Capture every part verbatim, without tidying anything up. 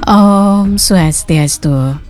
Om Swastiastu.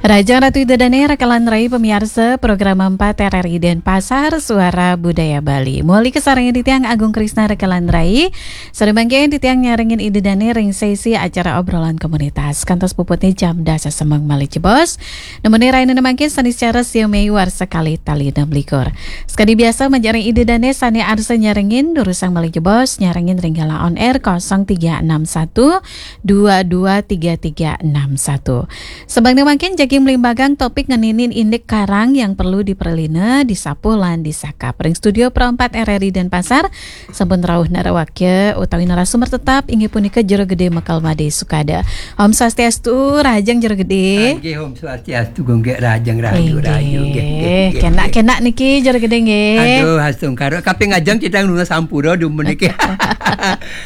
Rahajeng Ratu Ida Dane, raka lan rai pamiarsa program empat R R I Denpasar, Suara Budaya Bali. Malih kasarengin titiang Agung Krisna, raka lan rai. Sore mangkin titiang nyarengin Ida Dane ring sesi acara obrolan komunitas. Kantos puputne jam dasa semeng malih jebos. Nemune rainene mangkin Seniscara sia Mei warsa kalih tali enam likur. Sakadi biasa, majeng ring Ida Dane sane arsa nyarengin, durusang malih jebos, nyarengin ring galah on air kosong tiga enam satu dua dua tiga tiga enam satu. Sabangsane mangkin jagi malimbagang topik ngeninin indik karang yang perlu dipralina, disapuh lan disakap. Ring studio Pro empat R R I Denpasar, sampun rauh narawakya utawi narasumber tetap inggih punika Jero Gede Mekel Made Sukada. Om Swastiastu, rahajeng Jero Gede. Inggih, Om Swastiastu, Gung Gek, rahajeng rahayu, rahayu, nggih, nggih, nggih, kenak, nggih. Kenak niki Jero Gede nggih. Aduh, astungkara. Kaping ajeng titiang nunas sampura dumun niki.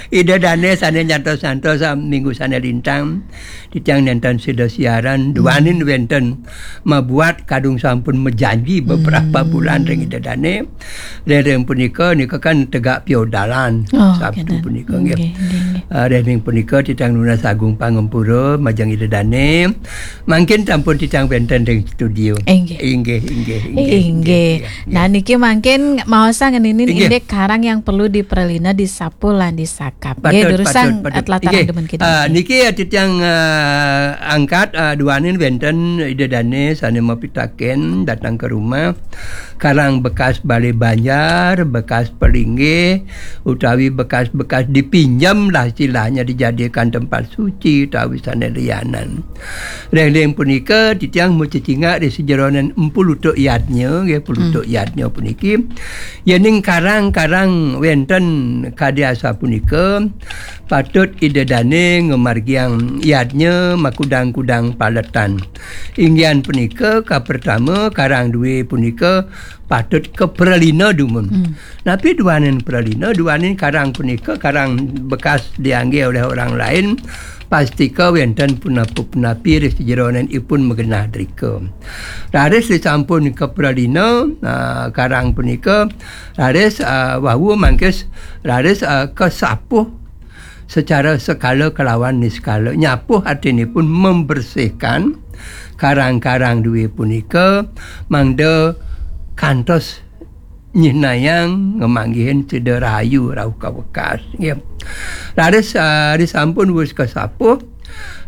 Ida Dane sane nyantos-nyantos, ah, minggu sane lintang. Titiang nenten sida siaran, duaning wenten mabuat kadung sampun majanji beberapa bulan ring Ida Dane. Ring punika, nika kan tegak piodalan. Oh, Sabtu kenten. Punika, nggih. Nggih, nggih, nggih. Ah, ring punika titiang nunas agung pangampura majeng Ida Dane. Mangkin sampun titiang wenten ring studio. Inggih. Inggih, inggih, inggih, inggih. Inggih. Nah, niki mangkin maosang ngeninin inggih. Indik karang yang perlu dipralina, disapuh lan disakap. Nggih, patut, durusang patut, patut. Tlatarang inggih. Demen kita. Ah, niki ya titiang, ah, angkat, ah, duaning wenten Ida Dane sane mapitaken datang ke rumah. Karang bekas bale banjar, bekas pelinggih, utawi bekas-bekas dipinjam lah istilahnya, dijadikan tempat suci utawi sane lianan. Ring punika titiang macecingak ring sajeroning pulutuk yadnya, nggih, pulutuk yadnya puniki. Yening karang-karang wenten kadi asapunika, patut Ida Dane ngamargiang yadnya makudang-kudang paletan. Inggihan punika, kapertama, karang due punika patut kapralina dumun. Hmm. Napi duaning pralina? Duaning karang punika, karang bekas diangge oleh orang lain, pastika wenten punapa-punapi ring sajeroning ipun magenah drika. Raris disampun kapralina, ah, karang punika, raris, ah, wau mangkin raris, ah, kasapuh secara sekala kelawan niskala. Nyapuh artinipun membersihkan karang-karang due punika mangda kantos nyihnayang ngamanggihin sida rahayu rauh kawekas, nggih. Raris, ah, disampun wus kasapuh,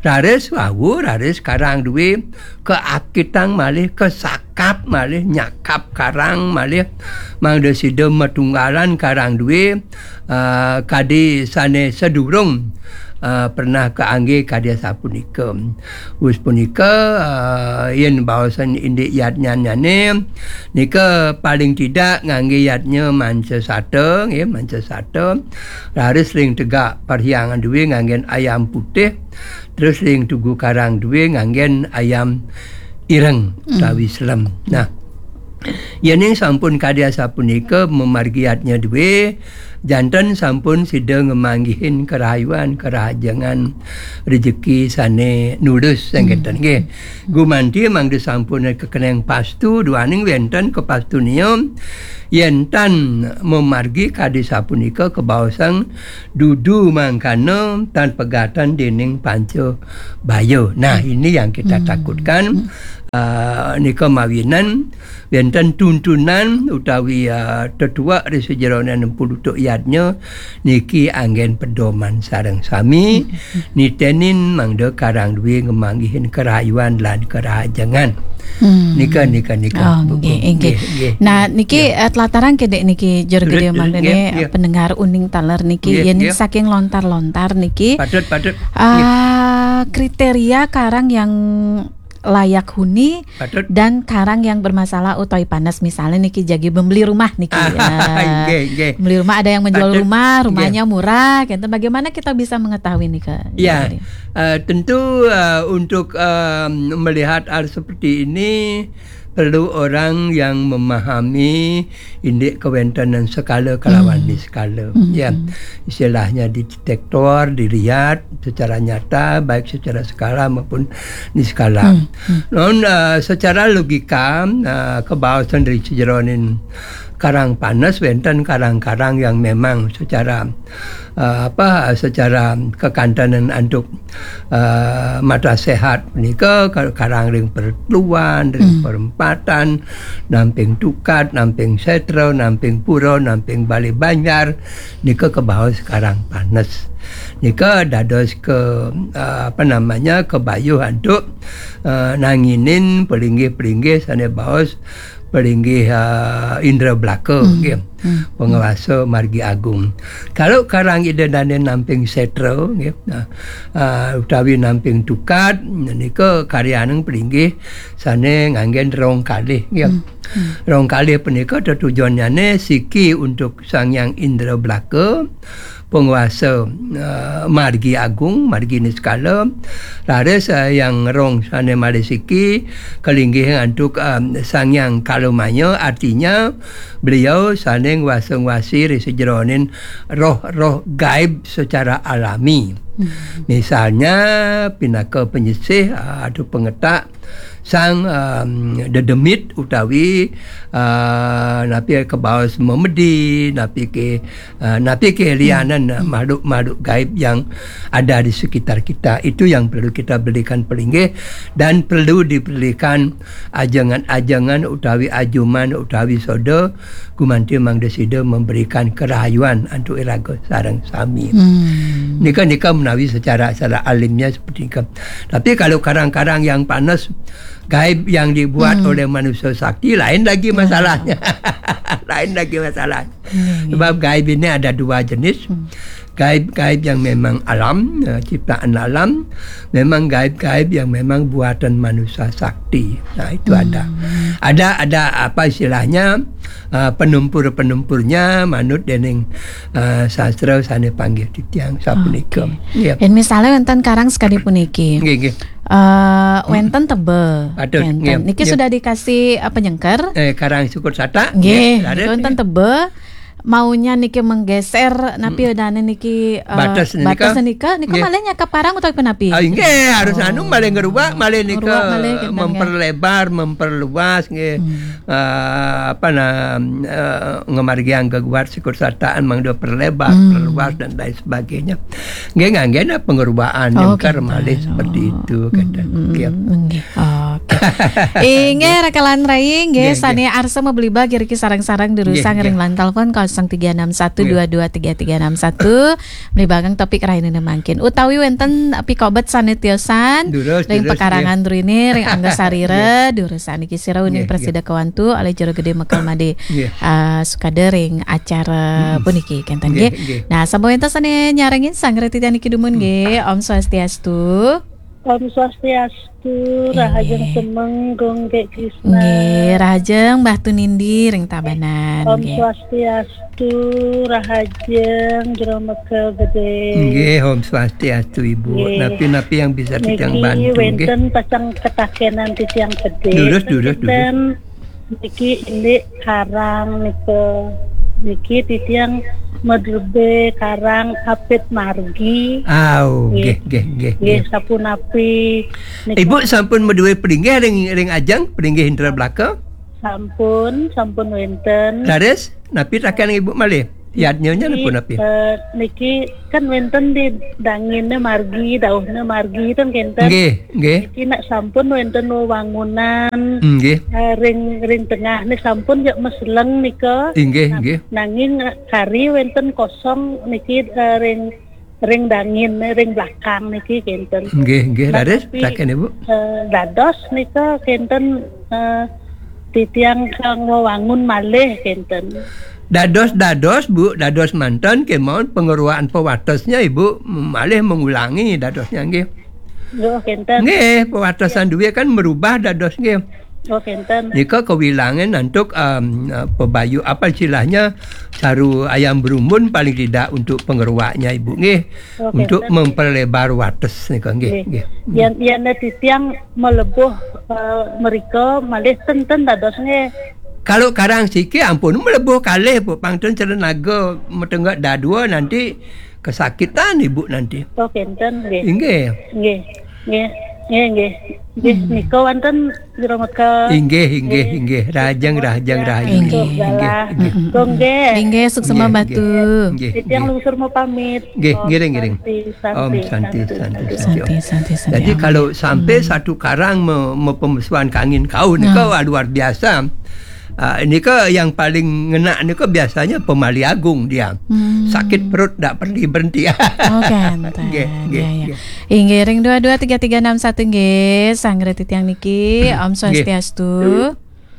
raris wau, raris karang due kaakitang malih, kasakap malih, nyakap karang malih, mangda sida matunggalan karang due, ah, kadi sane sadurung, ah, pernah kaangge kadi asapunika. Wus punika, ah, yen baosan indik yadnyanyane, nika paling tidak ngangge yadnya manca sata, nggih, manca sata. Raris ring tegak parhyangan due nganggen ayam putih, terus ring tugu karang due nganggen ayam ireng utawi selem. Nah, yening sampun kadi asapunika mamargi yadnya due, janten sampun sida ngamanggihin karahayuan, karahajengan, rejeki sane nulus, sangkenten nggih. Gumanti mangda sampun kakeneng pastu, duaning wenten kapastunia, yen tan mamargi kadi sapunika kabaosang dudu mangkana tan pegatan dening panca baya. Nah, ini yang kita takutkan. Ah, nika mawinan wenten tuntunan utawi, ah, tetuek ring sajeroning pulutuk yadnya niki anggen pedoman sareng sami, nitenin mangda karang due ngamanggihin karahayuan lan karahajengan. Hmm. Nika, nika, nika. Oh, Bu, nggih, Bu, nggih. Nggih, nggih, nah, nggih, niki, nggih. Eh, tlatarang kedek niki, Jero Gede, mangdane, eh, pendengar uning taler niki, nggih, yen nggih. Saking lontar-lontar niki, patut, patut. Ah, nggih. Kriteria karang yang layak huni dan karang yang bermasalah utawi panas, misalnya niki jagi membeli rumah niki. Ah, nggih, nggih. Membeli rumah, ada yang menjual rumah, patut, nggih. Rumahnya murah, gitu. Bagaimana kita bisa mengetahui nih, Kak? Ya, jadi, eh, tentu, eh, untuk, eh, melihat hal seperti ini perlu orang yang memahami indik kewentenan sekala kalawan niskala. Hmm. Ya, istilahnya didetektor, dilihat secara nyata, baik secara skala maupun niskala. Hmm. Hmm. Non, eh, secara logika, eh, kabaosan ring sajeroning Karang Panes wénten karang-karang yang memang secara, eh, apa, secara kekantenan antuk, eh, mata sehat punika ka-, karang ring pertluan, ring Hmm. perempatan, namping tukad, namping sétra, namping pura, namping balé banjar, nika kabaos Karang Panes. Nika dados ke, eh, apa namanya, kabayuh antuk, eh, nanginin palinggih-palinggih sané baos palinggih, eh, Indra Blaka, Hmm. nggih. Hmm. Pangwasa margi agung. Kalau karang Ida Dané namping sétra, nggih, nah, eh, utawi namping tukad, nika karyaning palinggih sané nganggén rong kalih, nggih. Hmm. Hmm. Rong kalih punika tetujonyané siki untuk Sang Hyang Indra Blaka, pangwasa, eh, margi agung, margi niskala, raris, eh, yang rong sané malih siki, kalinggih antuk, eh, Sang Hyang Kalamaya, artinya beliau sané ngwasa-ngwasi ring sajeroning roh-roh gaib secara alami. Hmm. Misalnya, pinaka penyisih, eh, atau pengetak, sang, em, dedemit utawi, eh, napi kabaos memedi, napi ke, eh, napi ke lianan, eh, Hmm. makhluk-makhluk gaib yang ada di sekitar kita. Itu yang perlu kita belikan pelinggih dan perlu dibelikan ajengan-ajengan utawi ajuman utawi soda gumanti mangda sida memberikan kerahayuan antuk iraga sareng sami. Hmm. Nika, nika menawi secara, secara alimnya seperti nika. Tapi kalau karang-karang yang panas, gaib yang dibuat Hmm. oleh manusia sakti, lain lagi Ya. masalahnya. Lain lagi masalah. Ya, ya. Sebab gaib ini ada dua jenis. Hmm. Gaib-gaib yang memang alam, eh, ciptaan alam, memang gaib-gaib yang memang buatan manusia sakti. Nah, itu ada. Hmm. Ada, ada apa istilahnya, eh, penumpur-penumpurnya manut dening, eh, sastra sané panggih titiang sapunika. Oke. Iya. Yén misalnya wénten karang sekadi puniki. Nggih, nggih. Eh, Hmm. wénten tebe. Patut, Wénten. Nggih, Niki nggih. sudah dikasih, eh, penyengker. Eh, karang syukur satak. Nggih, Nggih, niki raris. wénten tebe. Maunya niki menggeser, napi Hmm. dane niki, eh, Batas nika? batas nika, nika Nggih. malih nyakap karang utawi punapi? Ah, nggih, harus Oh. anu malih ngerubak, malih nika Ngerubak malih, kinten, nggih. memperlebar, memperluas, nggih. Hmm. Eh, apa nah, eh, ngamargiang geguat sikur sataan mangda perlebar, Hmm. perluas dan lain sebagainya. Nggih, nganggena pengerubaan Oh, nyengker kinten. malih seperti Oh. itu, Hmm, kinten. hmm, Nggih. hmm, nggih. Oke. Inggih, rakalan rai, nggih, Nggih, nggih. sane arsa mabli bag iriki sareng-sareng durusang Nggih, ring nggih. line telepon kosong tiga enam satu dua dua tiga tiga enam satu. Nggih. Mabli bagang topik rahinane mangkin. Utawi wenten pikobet sane tiosan Durus, ring durus, pekarangan nggih. rene, ring angga sarira, Nggih. durusang niki sira uning Nggih, nggih. prasida kawantu olih Jero Gede Mekel Made, Nggih. ah, sukada ring acara Hmm. puniki, kenten, Nggih, nggih. nggih. Nah, sampun wenten sane nyarengin sang retitan niki dumun, Hmm. nggih. Om Swastiastu. Om Swastiastu, Inggih. Rahajeng Semeng, Gung Gek Krisna. Nggih, Rahajeng Mbah Tunindi ring Tabanan, Om nggih. Swastiastu, Rahajeng Jero Mekel Gede. Nggih, Om Swastiastu, Ibu. Nggih. Napi-napi yang bisa titiang Niki bantu, nggih? wenten pacang ketakenan titiang gede. Durus, durus, durus. Wenten Niki indik karang nika. Niki titiang madrebe karang apit margi. Au, Nggih. nggih, nggih, nggih, Nggih, nggih. sapunapi nika? Ibu sampun madue pringgih ring, ring ajeng, pringgih Indra Blaka? Sampun, sampun wenten. Laris, napi taken Ibu malih? Yadnyanya Niki, napa napi? eh, niki kan wenten di dangine margi, dauhne margi, ten kenten. Nggih, nggih. Niki nak sampun wenten wewangunan, Nggih. eh, ring, ring tengahne sampun jak meseleng nika. Inggih, Nah, nggih. nanging kari wenten kosong niki, eh, ring, ring dangin, ring belakang niki kenten. Nggih, nggih, Nah, laris, tapi, taken Ibu. eh, dados nika kenten, eh, titiang kang wewangun malih kenten. Dados-dados, Bu, dados manten kemawon pengeruakan pawatesnya, Ibu, malih mengulangi dadosnya, nggih. Oh, kenten. Nggih, pawatesan Ya. duwe kan merubah dados, nggih. Oh, kenten. Nika kewilangan antuk, em, eh, pebayu, apa istilahnya, saru ayam berumbun paling tidak untuk pengeruaknya, Ibu, nggih. Oh, Untuk kenten. memperlebar wates nika, nggih, Nggih. nggih. Yan, yan titiang melebuh, eh, merika malih ten, ten dados nggih. Kalau karang siki ampun melebuh kalih, Bu, pang ten sira naga metenggak dadua nanti kesakitan Ibu nanti. Oh, kenten nggih. Inggih. Nggih. Nggih. Nggih, nggih. Nggih, nika wonten Jero Mekel. Inggih, inggih, inggih. Rahajeng, rahajeng, rahajeng. Inggih. Inggih, inggih. Kongge. Inggih, suksma Batu. Inggih, titiang lungsur mau pamit. Nggih, ngiring, ngiring. Om Santi, Santi, Santi. Santi, Santi, Santi. Jadi kalau sampai satu karang me-, me-, pemesuan kangin kau nika, wah, luar biasa. Ah, ini ke yang paling ngena ni ke biasanya pemali agung dia. Sakit perut tak perlu berhenti. Oh, kan. Nggih, nggih, nggih. Inggih, ring dua dua tiga tiga enam satu nggih, sanggra titiang niki. Om Swastiastu.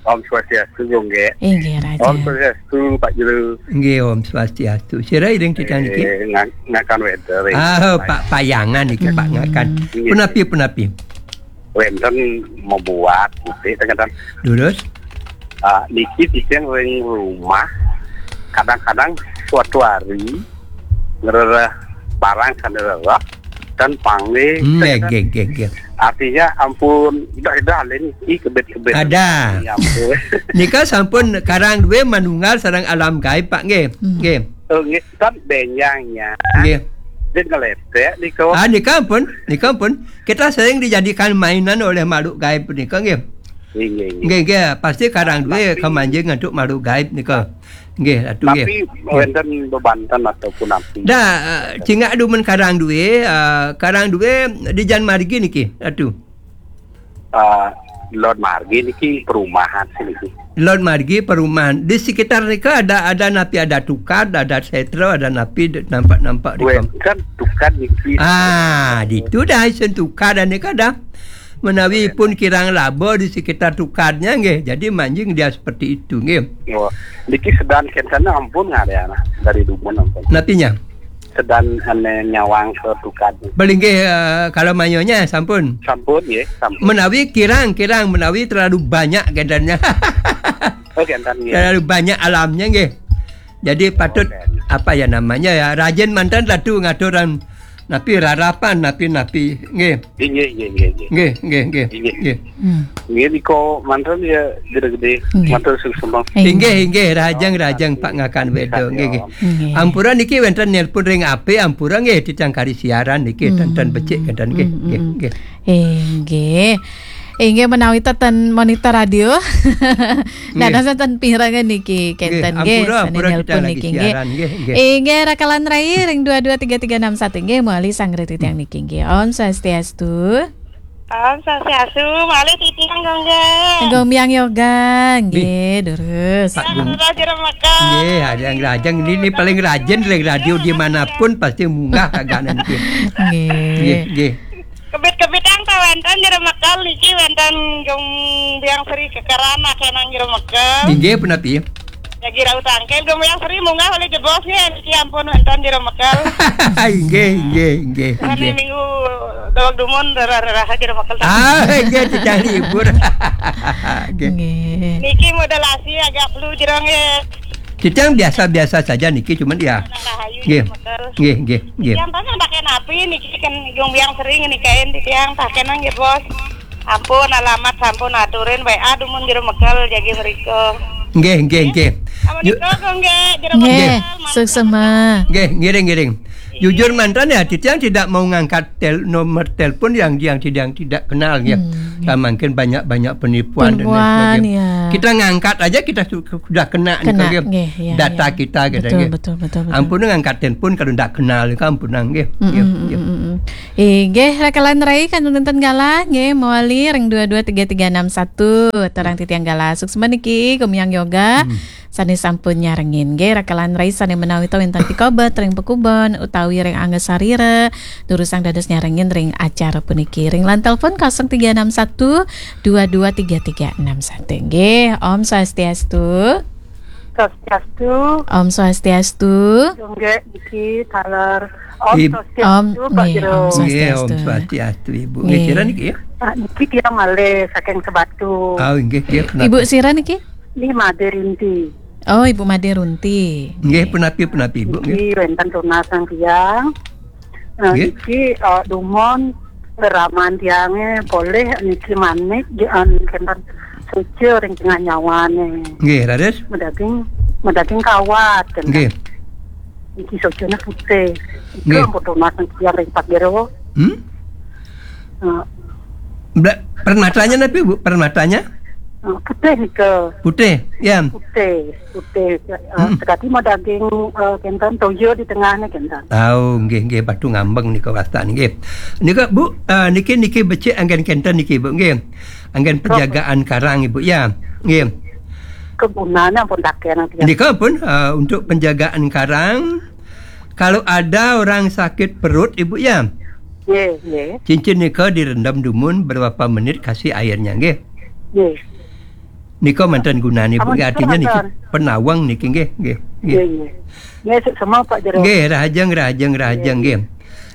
Om Swastiastu, Gung, nggih. Inggih, Raja. Om Swastiastu, Pak Jero. Nggih, Om Swastiastu. Sira iring titiang niki? Eh, ngan-, ngakan weather, eh. Ah, Pak Payangan niki, Pak Ngakan. Punapi, punapi? Wénten mabuat, nggih, tengah-tengah. Durus? Ah, niki titiang ring rumah, kadang-kadang suatu hari ngrereh barang sané rereh dan panggih. Hmm, nggih, nggih, nggih, nggih. Artinya ampun, idah-idah alin, ih, kebet-kebet. Ada. Ya ampun. Nika sampun karang duwe manunggal sareng alam gaib, Pak, nggih. Hmm. Nggih. Oh, nggih, kan benjangnya. Nggih. Dia ngeletek nika. Ah, nika ampun, nika ampun. Kita sering dijadikan mainan oleh makhluk gaib nika, nggih. Nggih, nggih, nggih. Nggih, nggih, pasti karang duwe kamanjing antuk makhluk gaib nika. Nggih, Ratu, nggih. Tapi wénten bebanten ataupun api. Dah, eh, cingak dumun karang duwe, eh, karang duwe di jan margi niki, Ratu. Eh, Lod margi niki perumahan sih niki. Lod margi perumahan. Di sekitar nika ada, ada napi ada tukad, ada setra, ada napi de-, nampak-nampak di kom-, kan tukad niki. Ah, ditu dah isen tukad nika dah. Menawi pun kirang laba di sekitar tukadnya nggih. Jadi manjing dia seperti itu nggih. Oh, niki sedan kentana ampun ngarana dari dumun ampun. Napinya? Sedan ane nyawang ke tukad. Belinggih, eh, kalau mayanya sampun. Sampun nggih, sampun. Menawi kirang, kirang menawi terlalu banyak gendannya. Oh, gendan nggih. Terlalu banyak alamnya nggih. Jadi patut apa ya namanya ya, rajin manten Ratu ngaturan napi rarapan, napi-napi nggih. Nggih, nggih, nggih, nggih. Nggih, nggih, nggih. Nggih. Hmm. Nggih, nika manten ya gede-gede. Nggih. Matur suksma. Inggih, inggih, rahajeng, rahajeng, Pak Ngakan Wedo. Nggih, nggih. Nggih. Ampura niki wénten nelpon ring A P, ampura nggih titiang kari siaran niki, hmm, ten-ten becik, ten-ten nggih, hmm, nggih, hmm, nggih. Inggih. Inggih menawi ten monitor radio. Nggih. Dados ten pirengan niki kenten nggih, ampura, sané ampura nelpon kita lagi niki nggih. Siaran, nggih, nggih. Inggih, rakalan rai ring dua dua tiga tiga enam satu nggih, mawali sanggra titiang niki nggih. Om Swastiastu. Om Swastiastu, malih titiang, Gung, nggih. Gung Biang Yoga, nggih, durus. Pak Gung. Jero Mekel. Nggih, ada yang rajin. Ini, ini paling rajin dari radio dimanapun pasti munggah kagak nanti. Nggih. Nggih, nggih. Kebit-kebit yang tawénten Jero Mekel niki wénten Gung Biang Sri kekeran akénang Jero Mekel. Inggih, punapi? Jagi rauh tangkil, Gung Biang Sri munggah olih jebos nggih, niki ampun wénten Jero Mekel. Inggih, inggih, inggih, inggih. Minggu daweg dumun rerah-rerah Jero Mekel. Ah, inggih, titiang libur. Nggih. Nggih. Niki modulasi agak flu jero nggih. Titiang biasa-biasa saja niki, cuman ya. Nggih. Nggih, nggih, nggih. Titiang tanya pakai napi niki kan Gung Biang Sri niki kain titiang pakai nang nggih, Bos. Ampun, alamat sampun aturin W A dumun Jero Mekel jagi mriko. Nggih, nggih, nggih. Amun nika, nggih, Jero Mekel, suksma. Nggih, ngiring, ngiring. Jujur mantan ya, titiang tidak mau ngangkat tel-, nomor telepon yang, yang tidak, tidak kenal ya. Hmm, nggih. Kan mungkin banyak-banyak penipuan dan lain sebagainya. Penipuan, ya. Kita ngangkat aja kita su-, sudah kena nih, nggih, ya, data kita gitu, betul, nggih. Betul, betul, betul. Ampun ngangkat telepon kalau tidak kenal, ampun nggih. Mm, mm, mm, mm. Inggih, rakalan rai kantun wénten galah, nggih, mawali ring dua dua tiga tiga enam satu, terang titiang galah. Suksma niki, Gung Biang Yoga, sané sampun nyarengin. Nggih, rakalan rai sané menawi ta wénten pikobet ring pakuben utawi ring angga sarira, durusang dados nyarengin ring acara puniki. Ring line telepon kosong tiga enam satu dua dua tiga tiga enam satu. Nggih, Om Swastiastu. Swastiastu. Om Swastiastu. Nggih, niki taler. Om Swastiastu, Pak Jero. Nggih, Om Swastiastu, Ibu. Nggih, sira niki ya? Ah, niki titiang malih saking Sebatu. Ah, nggih, nggih, punapi? Ibu sira niki? Niki Made Rinti. Oh, Ibu Made Runti. Nggih, punapi, punapi, Ibu, nggih. Niki wénten tunas titiang. Nah, nggih. Niki, eh, dumun reraman tiangé polih niki manik, nggih, an kenten suci ring tengah nyawané. Nggih, raris. Madaging, madaging kawat, kan. Nggih. Niki suciné putih. Nggih. Itu ampun tunas titiang ring Pak Jero. Hmm? Eh, Bela-, permatanya napi, Bu? Permatanya? Oh, putih nika. Putih, ya. Putih, putih. Eh, Hmm. Sekadi mau daging, eh, kenten toyo di tengahnya kenten. Oh, nggih, nggih, batu ngambeng nika wastan, nggih. Nika, Bu, eh, niki, niki becik anggen kenten niki, Bu, nggih. Anggen penjagaan karang, Ibu, ya. Nggih. Kegunanya pun taken, ya. Nika pun, eh, untuk penjagaan karang, kalau ada orang sakit perut, Ibu, ya. Nggih, nggih. Cincin nika direndam dumun berapa menit kasih airnya, nggih. Nggih. Nika manten gunane, Bu. Amun nggih, artinya niki manten. Penawang niki, nggih, nggih, nggih. Nggih, nggih. Nggih, suksma, Pak Jero. Nggih, rahajeng, rahajeng, rahajeng, nggih.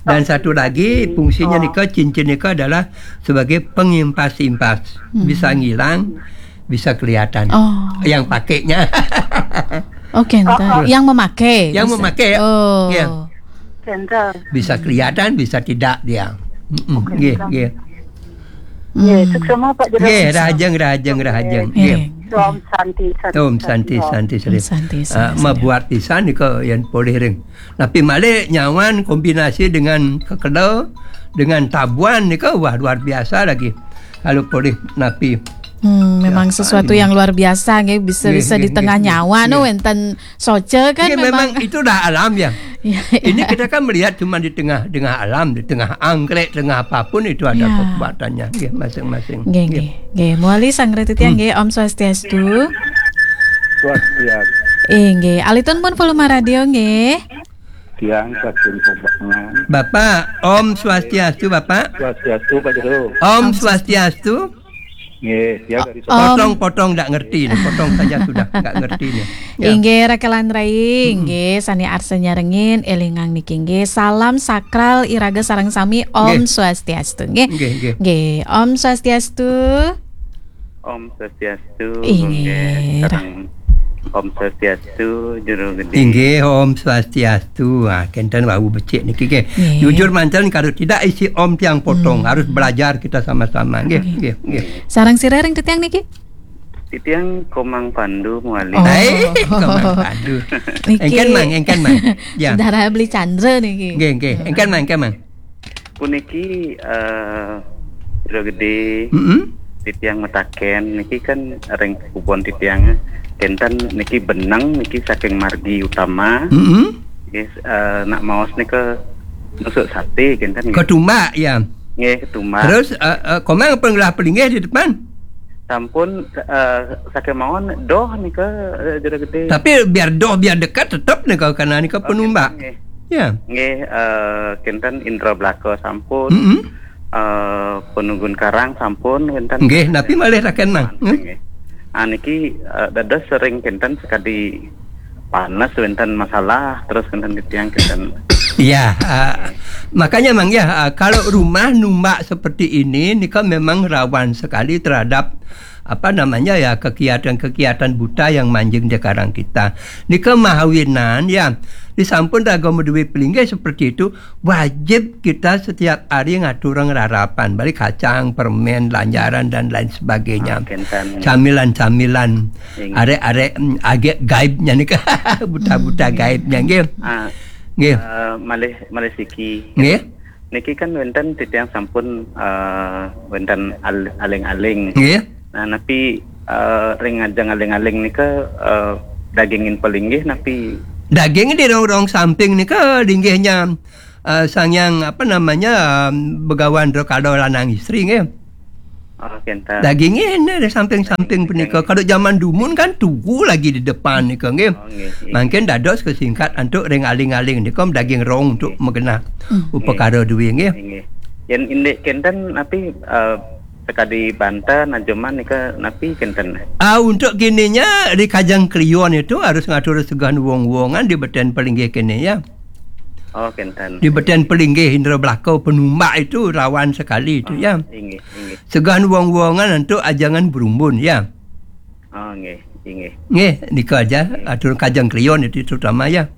Dan satu lagi, fungsinya nika, cincin nika adalah sebagai pengimpas-impas. Hmm. Bisa ngilang, bisa kelihatan. Oh. Yang pakainya. Oke, Oh, entah. oh. Yang memakai, Yang bisa. Memakai, ya. Oh. Ya. Kenten. Bisa kelihatan, bisa tidak dia. Mm-mm. Oke, nggih, kenten. Nggih. Nggih, Hmm. Suksma, Pak Jero. Nggih, rahajeng, rahajeng, rahajeng. Nggih. Nggih. Om Santi, Santi, Om Santi, Santi, Santi, Santi. Om Santi, Ah, Santi, Santi. Mabuat pisan nika yen polih ring. Napi malih nyawan kombinasi dengan kekeda, dengan tabuan nika, wah, luar biasa lagi. Kalau polih napi. Hmm, memang Ya, sesuatu ini. Yang luar biasa, nggih, bisa, Nggih, bisa di nggih, tengah nggih, nyawa, no, nggih. Wenten soce kan. Nggih, memang memang itu dah alam, ya. Ya, ini ya. Kita kan melihat cuma di tengah, tengah alam, di tengah anggrek, tengah apapun itu ada Ya. Kekuatannya, nggih, masing-masing. Nggih, Nggih. Nggih. Nggih, muali sang Ratu Tiang, Hmm. nggih, Om Swastiastu. Swastiastu. Eh, nggih, alitun pun volume radio, nggih. Tiang saking Pembangan. Bapak, Om Swastiastu, Bapak. Swastiastu, Pak Jero. Om Om Swastiastu. Swastiastu. Nggih, tiang dari Om. Potong-potong ndak ngerti ni, potong saja sudah, ndak ngerti ni. Ya. Inggih, rakelan rai, Hmm. nggih, sane arsa nyarengin, elingang niki, nggih. Salam sakral iraga sareng sami, Om Nggih. Swastiastu, nggih. Nggih, nggih. Nggih, Om Swastiastu. Om Swastiastu, Inggih. Nggih, sareng Om Swastiastu, Jero Gede. Inggih, Om Swastiastu. Ah, kenten wau becik niki, nggih. Nggih. Jujur manten, kalau tidak isi Om tiang potong, Hmm. harus belajar kita sama-sama, nggih, Nggih. nggih, nggih. Sareng sira ring titiang niki? Titiang Komang Pandu, muali. Oh. Hai, Komang Pandu. Niki Engken, Mang, engken, Mang. Ya. Saudara Beli Chandra niki. Nggih, nggih. Engken, Mang, engken, Mang. Puniki, eh, Jero Gede, Mm-mm. titiang metaken, niki kan ring kubon titiang, kenten niki beneng, niki saking margi utama. Mm-mm. Nggih, eh, nak maos nika nusuk sate, kenten nggih. Ketumbak, ya. Nggih, ketumbak. Terus, eh, eh, Komang pun ngelah pelinggih di depan? Sampun, eh, saking mawon doh nika, eh, Jero Gede. Tapi biar doh, biar dekat, tetap nika karena nika Oh, penumbak. Nggih. Ya. Nggih, eh, kenten indra belaka sampun. Mm-mm. Eh, penunggun karang sampun, kenten. Nggih, napi malih raken, Mang? Hmm? Nggih. Ah, niki, eh, dados sering kenten sekadi panas, wenten masalah, terus kenten titiang kenten. Ya, eh, makanya, Mang, ya, eh, kalau rumah numbak seperti ini, nika memang rawan sekali terhadap, apa namanya, ya, kegiatan-kegiatan buta yang manjing di karang kita. Nika mahawinan, ya, disampun raga maduwe pelinggih seperti itu, wajib kita setiap hari ngaturang rarapan, beli kacang, permen, lanjaran, dan lain sebagainya. Ah, kenten. Camilan-camilan, Inggih. Arek-arek, mm, agek gaibnya nika, buta-buta Hmm. gaibnya, nggih. Ah, Nggih. Eh, malih, malih siki. Nggih. Niki kan wenten titiang sampun, eh, wenten al-, aling-aling. Nggih. Nah, napi, eh, ring ngajeng aling-aling nika, eh, dagingin pelinggih napi? Daging di rong-rong samping nika linggihnya, eh, Sang Hyang, apa namanya, em, Begawan Drakala lanang istri, nggih. Oh, kenten. Dagingnya ini di samping-samping punika. Kalau zaman dumun kan tugu lagi di depan nika, nggih. Oh, nggih, nggih. Mangkin dados kesingkat antuk ring aling-aling nika daging rong untuk Nggih. Magenah Hmm. upakara duwe, nggih. Nggih. Yen indik kenten napi, eh, sekadi banten ajeman nika napi kenten? Ah, untuk kininya di Kajeng Kliwon itu harus ngatur segah wong-wongan di beten pelinggih kene, ya. Oh, kenten. Di beten pelinggih indra belaka penumbak itu rawan sekali itu, Ah, ya. Inggih, inggih. Segah wong-wongan antuk ajangan berumbun, ya. Oh, nggih, inggih. Nggih, nika aja, Nggih. atur Kajeng Kliwon itu terutama, ya.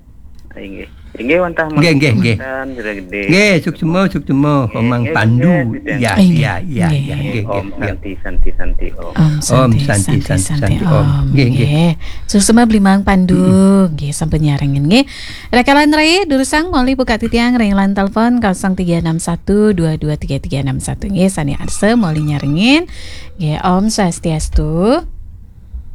Inggih. Inggih wantah Nggih, nggih, nggih. Jero Gede. Nggih, suksma, suksma, Komang Nggih, Pandu. nggih, nggih. Ya, Inggih, ya, ya, nggih. ya, nggih, Om nggih. Santi Santi Santi Om. Om Santi, Santi, Santi, Santi, Santi, Santi Om. Om. Nggih, nggih. Nggih. Suksma Bli Mang Pandu. Nggih, sampun nyarengin nggih. Rekalan rai durusang moli buka titiang ring line telepon kosong tiga enam satu dua dua tiga tiga enam satu nggih, sane arsa moli nyarengin. Nggih, Om Swastiastu.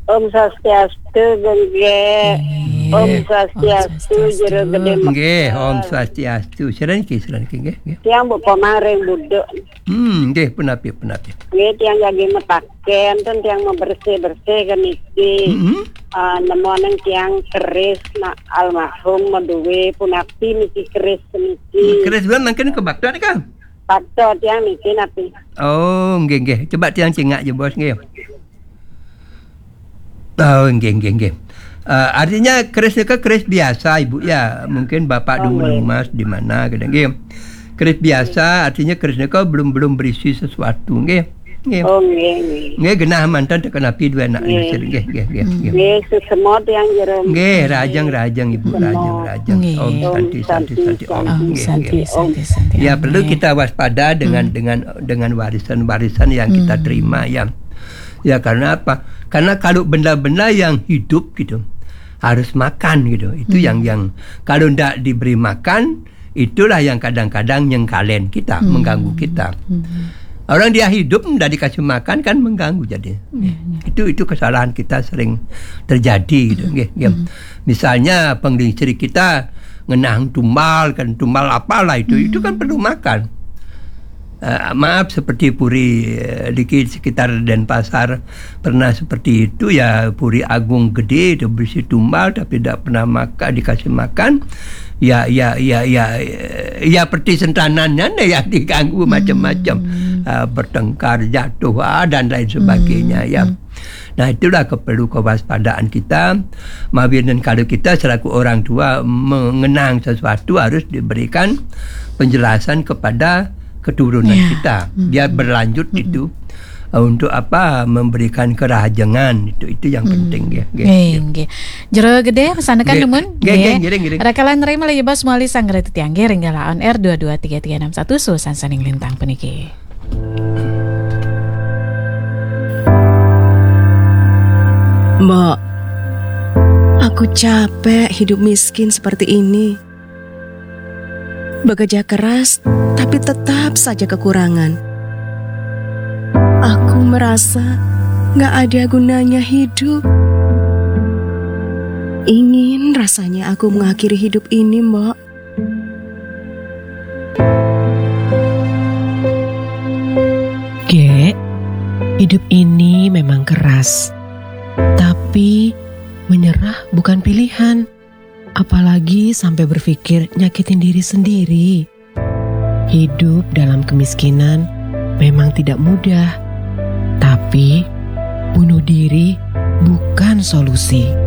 Om Swastiastu, Gengge. Nggih. Om Swastiastu, Jero Gede. Nggih, Om Swastiastu. Sira niki, sira niki, nggih, nggih. Tiang Bu Komang ring Buduk. Hmm, nggih, punapi, punapi. Nggih, tiang jagi metaken, ten tiang membersih-bersih ke niki. Heeh. Ah, nemoning tiang keris nak almarhum maduwe punapi niki keris niki. Keris bulan mangkin ke bakta nika. Paksa tiang niki napi. Oh, nggih, nggih. Coba tiang cingak je, Bos, nggih. Oh, nggih, nggih, nggih. Eh, artinya keris nika keris biasa, Ibu, ya. Mungkin Bapak Oh, dulu nggih. Mas di mana, kadang, nggih. Keris biasa artinya keris nika belum belum berisi sesuatu, nggih. Nggih. Oh, nggih, nggih. Nggih, genah mantan tekan api dua anak Nggih. Inggrisir, nggih, nggih, nggih. Nggih, suksma tiang Jero. Nggih, rajang-rajang, Ibu, Suksma. rajang-rajang. Nggih. Om Santi, Santi, Santi, Om. Om Nggih, Santi, nggih. Santi, Santi. Ya, Om. perlu Nggih. kita waspada dengan Hmm. dengan dengan warisan-warisan yang kita Hmm. terima, ya. Ya, karena apa? Karena kalau benda-benda yang hidup gitu harus makan gitu. Itu Hmm. yang yang kalau ndak diberi makan, itulah yang kadang-kadang nyengkalen kita, Hmm. mengganggu kita. Hmm. Orang dia hidup ndak dikasih makan kan mengganggu jadi. Iya, iya. Itu itu kesalahan kita sering terjadi gitu, nggih, nggih. Hmm. Misalnya penglingsir kita ngenang tumbal kan, tumbal apalah itu, itu kan perlu makan. Eh, maaf, seperti puri, eh, di sekitar Denpasar pernah seperti itu, ya, puri agung gede itu berisi tumbal tapi tidak pernah makan, dikasih makan. Ya, ya, ya, ya, ya, seperti sentanannya nih ya diganggu macam-macam. Eh, bertengkar, jatuh, ah, dan lain sebagainya, ya. Nah, itulah keperlu kewaspadaan kita. Mawinan kalau kita selaku orang tua mengenang sesuatu harus diberikan penjelasan kepada keturunan Ya. Kita. Biar berlanjut itu, eh, untuk apa, memberikan kerahajengan itu, itu yang penting, ya. Nggih, nggih. Jero Gede, pesan tekan Nggih. nemun? Nggih, nggih, ngiring, ngiring. Rekalan rai malih Bos moli sang titiang nggih ring galah on air dua dua tiga tiga enam satu susan saning lintang puniki. Mbok, aku capek hidup miskin seperti ini. Bekerja keras, tapi tetap saja kekurangan. Aku merasa nggak ada gunanya hidup. Ingin rasanya aku mengakhiri hidup ini, Mbok. Gek, hidup ini memang keras. Tapi menyerah bukan pilihan. Apalagi sampai berpikir nyakitin diri sendiri. Hidup dalam kemiskinan memang tidak mudah. Tapi bunuh diri bukan solusi.